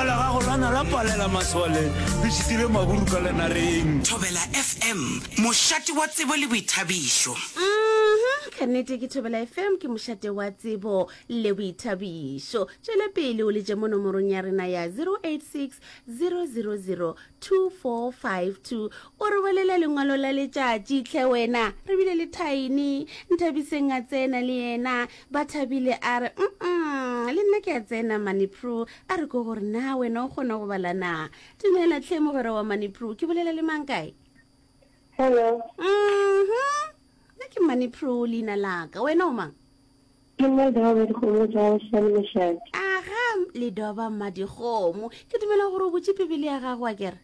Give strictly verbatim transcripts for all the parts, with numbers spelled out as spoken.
Lešaka la gago la na la palela masole, le šitile maburu ka lenareng. Thobela F M, mošate wa tsebo le boithabišo. Mhm, ka nnete ke Thobela F M, ke mošate wa tsebo le boithabišo. Tšwela pele o letše mo nomorong ya rena ya zero eight six zero zero zero two four five two, o re balela lengwalo la letšatši. Tlhe wena, re bile le Thaini Nthabiseng a tsena le yena ba thabile, a re mm le nna ke a tsena Manipro. A re ko gore na wena o kgona go bala na? Dumela tlhe mogwera wa Manipro, ke bolela le mang, kae? Hello. Mhm. Nna ke Manipro leina laka, wena o mang? Ke nna Doba Dikgomo tša Šane Mošate. Aga, Ledoba Mmadikgomo, ke dumela gore o botse Bibele ya gago, a kere?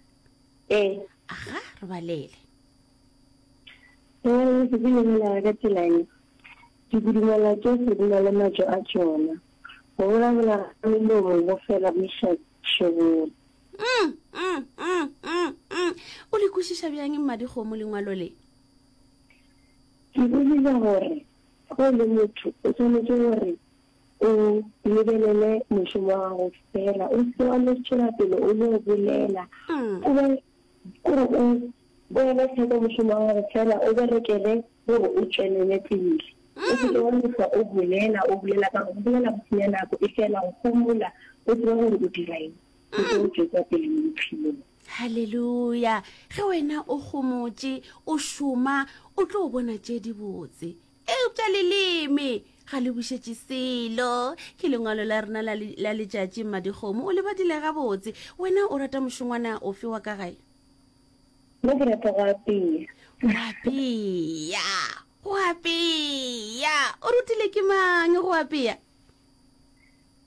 Ee. Aga, re balele. Lengwalo le se le bolela ka tsela ye. Dikudumela tšohle di na le matšo a tšona. Go bolabola ga melomo go fela go iša tšhebong. Mm, mm, mm, mm, mm. o le kwešiša bjang Mmadikgomo lengwalo le? Ke bolile gore go le motho o swanetše gore o lebelele mošomo wa gago fela, o se wa no tšwela pele o no bolela. Mm. O be kore o o ele hloko mošomo wa gago fela, o berekele gore o tšwelele pele. O se ke wa no hlwa o bolela, o bolela, ka gore go bolela go senya nako, e fela go homola, o tseba gore o dira eng. O tlo tšwetša pele mo bophelong. Halleluja! Ge wena o gomotše o šoma, o tlo bona tše dibotse, eupša leleme ga le bušetše selo. Ke lengwalo la rena la le- la letšatši. Mmadikgomo, o le badile gabotse. Wena o rata mošongwana ofe wa ka gae? Nna ke rata go apea. Go apea, go apea, o rutile ke mang go apea?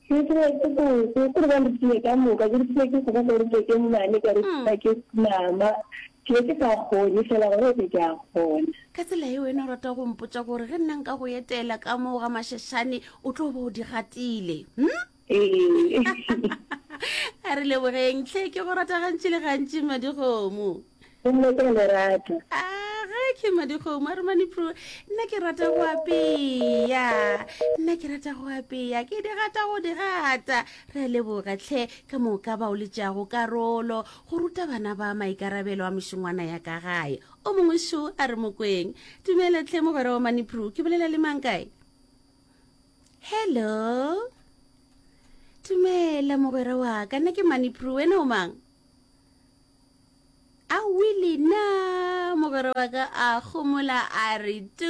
Ke rutile ke koko, kore ba rutile ka moka. Ke rutile ke koko, ka rutile ke mmane, ka rutile ke mama. Ke be ke sa kgone, fela gore ke ke a kgona. Ka tsela e wena o rata go mpotsa gore ge nna nka go etela ka moo ga Mašešane, o tlo ba o di gatile, hm? Ee. A re lebogeng tlhe, ke go rata gantši le gantši, Mmadikgomo. Nna ke a le rata. Aga, ke Mmadikgomo, a re Manipro, nna ke rata go apea, nna ke rata go apea, ke di gata go di gata. Re a leboga tlhe ka moka ba o letšago karolo go ruta bana ba maikarabelo a mešongwana ya ka gae. O mongwe šo, a re mokweng. Dumela tlhe mogwera wa Manipro, ke bolela le mang, kae? Hello, dumela mogwera wa ka, nna ke Manipro, wena o mang? Aowi lena mogwera wa ka a gomola a re tu.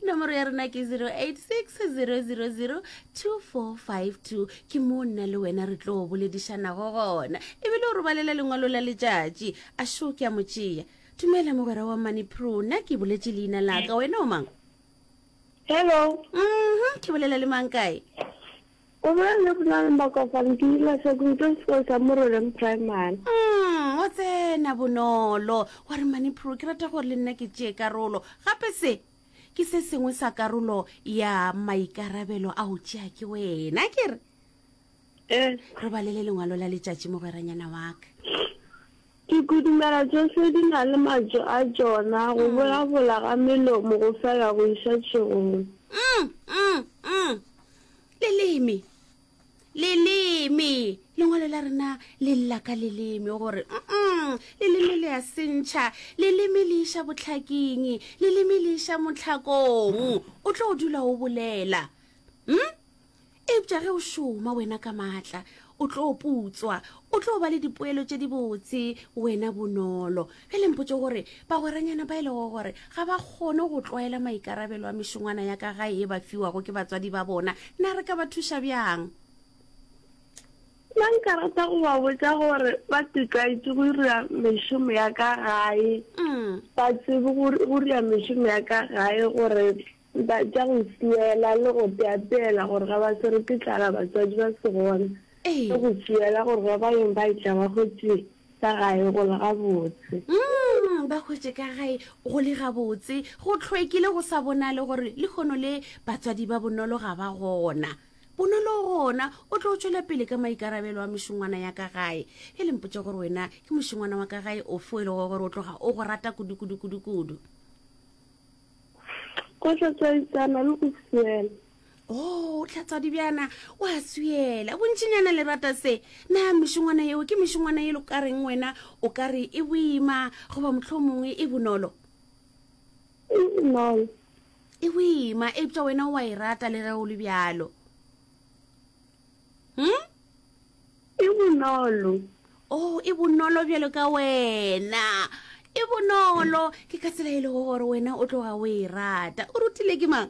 Nomoro ya rena ke zero eight six zero zero zero two four five two, ke mo nna le wena re tlo boledišanago gona, ebile o robalela lengwalo la letšatši. A šo, ke a mo tšea. Dumela mogwera wa Manipro, nna ke boletše leina laka, wena o mang? Hello. Mhm, ke bolela le mang, kae? O bolela le Bonang Makofane, ke dula Sekong sekolo sa Moroleng Primary. Mm, o tsena bonolo wa re Manipro, ke rata gore le nna ke tšee karolo gape. Se ke se sengwe sa karolo ya maikarabelo a go tšea ke wena, ke re Eh, re balele lengwalo la letšatši mogweranyana wa ka. Dikudumela tšohle di na le matšo a tšona, go bolabola ga melomo go fela go iša tšhegong. mm, mm, mm. leleme leleme, lengwalo la rena le lla ka leleme gore mm leleme le a sentšha, leleme le iša botlhaking, leleme le iša motlhakong. O tlo dula o bolela, hm eupša ge o šoma wena ka maatla, o tlo putswa, o tlo ba le dipoelo tše dibotse wena bonolo. Bjale mpotse gore bagweranyana ba e lego gore ga ba kgone go tlwaela maikarabelo a mešongwana ya ka gae e ba fiwago ke batswadi ba bona, na re ka ba thuša bjang? Nna nka rata go ba botša gore ba tlwaetse go dira mešomo ya ka gae. Mm. Ba tsebe go go dira mešomo ya ka gae, gore ba tša go swiela le go teapeela, gore ga ba swere ke tlala batswadi ba se gona. Ee. Le go swiela gore ba ba yeng ba etla ba hwetše ka gae go le gabotse. Mm, ba hwetše ka gae go le gabotse, go tlhwekile, go sa bonale gore lekgono le batswadi ba bonolo ga ba gona. Bonolo gona o tlo tšwela pele ka maikarabelo a mešongwana ya ka gae. E le mpotse gore wena ke mošongwana wa ka gae ofe o e lego gore o tloga o go rata kudu kudu kudu kudu? Go hlatswaisana le go swiela. O oh, tlhatswa dibjana, wa swiela. Bontšinyana le rata se. Na mešongwana yeo ke mešongwana ye lo ka reng wena o ka re e boima goba mohlomongwe e bonolo? E bonolo. E boima, eupša wena o a e rata le ge o le bjalo. Hm? E bonolo. Oh, e bonolo bjalo ka wena. E bonolo, ke ka tsela e lego gore wena o tloga o e rata. O rutile ke mang?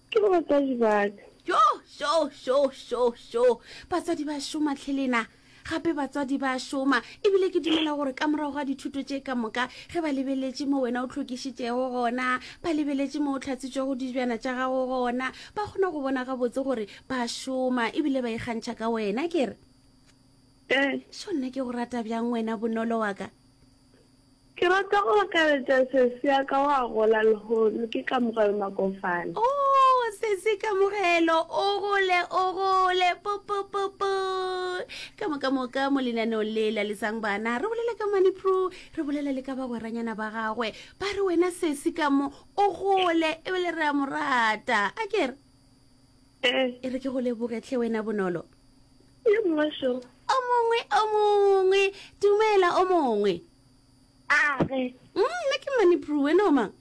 Ke batswadi ba ka. Jo, jo, jo, jo, jo. Batswadi ba šoma tlhe lena. Gape batswadi ba šoma. Ebile ke dumela gore ka morago ga dithuto tše ka moka, ge ba lebeletše mo wena o hlwekišitšego gona, ba lebeletše mo o hlatswitšego dijana tša gago gona, ba kgona go bona gabotse gore ba šoma ebile ba ikgantšha ka wena. Ke re. Ee. Šo nna ke go rata bjang wena Bonolo wa ka. Ke rata go akaretša sesi ya ka wa gola lehono, ke Kamogelo Makofane. Oh, sesi Kamogelo, o gole, o gole, pu, pu, pu, pu. Ka moka moka mo lenaneong le la Lesang Bana, re bolela ka Money Pro, re bolela le ka bagweranyana ba gagwe. Ba re wena sesi ka mo, o gole, ebile re a mo rata. A ke re? Eh. E re ke go leboge hle wena Bonolo. Ye mongwe šo. O mongwe, o mongwe, dumela o mongwe. A re. Mm, nna ke Money Pro, wena o mang?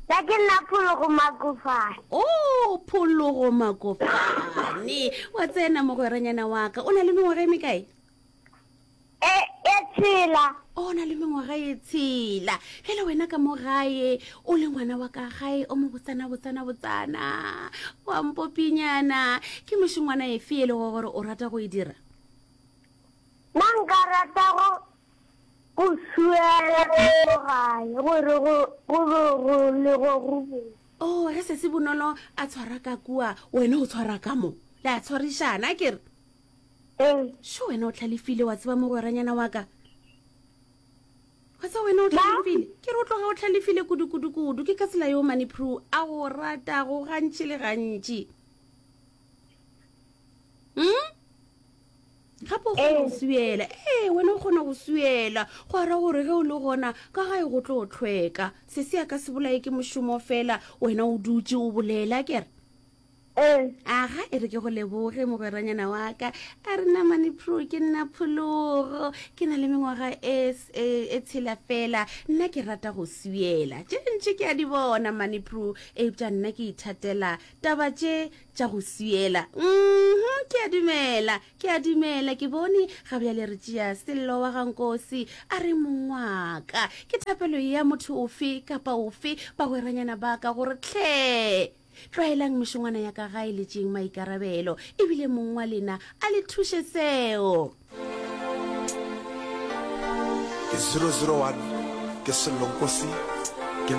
Nna ke nna Phologo Makofane. Oh, Phologo Makofane. Wa tsena mogweranyana wa ka. O na le mengwaga e mekae? E, e tshela. O na le mengwaga e tshela. Bjale wena ka mo gae, o le ngwana wa ka gae, o mo botsana, botsana, botsana. Wa mpopinyana. Ke mešongwana efe e lego gore o rata go e dira? Nna nka rata go, go swiela ka mo gae, gore go, go be go le go go botse. Oh, ge se se bonolo a tshwara ka kua, wena o tshwara ka mo. Le a tshwarišana, a ke re? Ee. Šo wena o hlalefile, wa tseba mogweranyana wa ka. Wa tseba wena o hlalefile. Ke re o tloga o hlalefile kudu, kudu, kudu. Ke ka tsela yeo Money Pro a go ratago gantši le gantši. Hmm? Gape o kgona go swiela. Ee, wena o kgona go swiela. Go ra gore ge o le gona ka gae go tlo hlweka. Se se ya ka se bolaye ke mošomo fela, wena o dutše o bolela, ke re? Ee. Aga, e re ke go leboge mogweranyana wa ka. A re nna Money Pro, ke nna Phologo. Ke na le mengwaga e, e, e tshela fela. Nna ke rata go swiela. Tše ntši ke a di bona Money Pro, eupša nna ke ithatela taba tše tša go swiela. Mhm, ke a dumela, ke a dumela, ke bone ga bjale re tšea Sello wa ga Nkosi a re mongwaka. Ke thapelo ya motho ofe kapa ofe bagweranyana ba ka gore tlhe tlwaelang mešongwana ya ka gae le tšeeng maikarabelo, ebile mong wa lena a le thuše seo. Ke zero zero one, ke Sello Nkosi.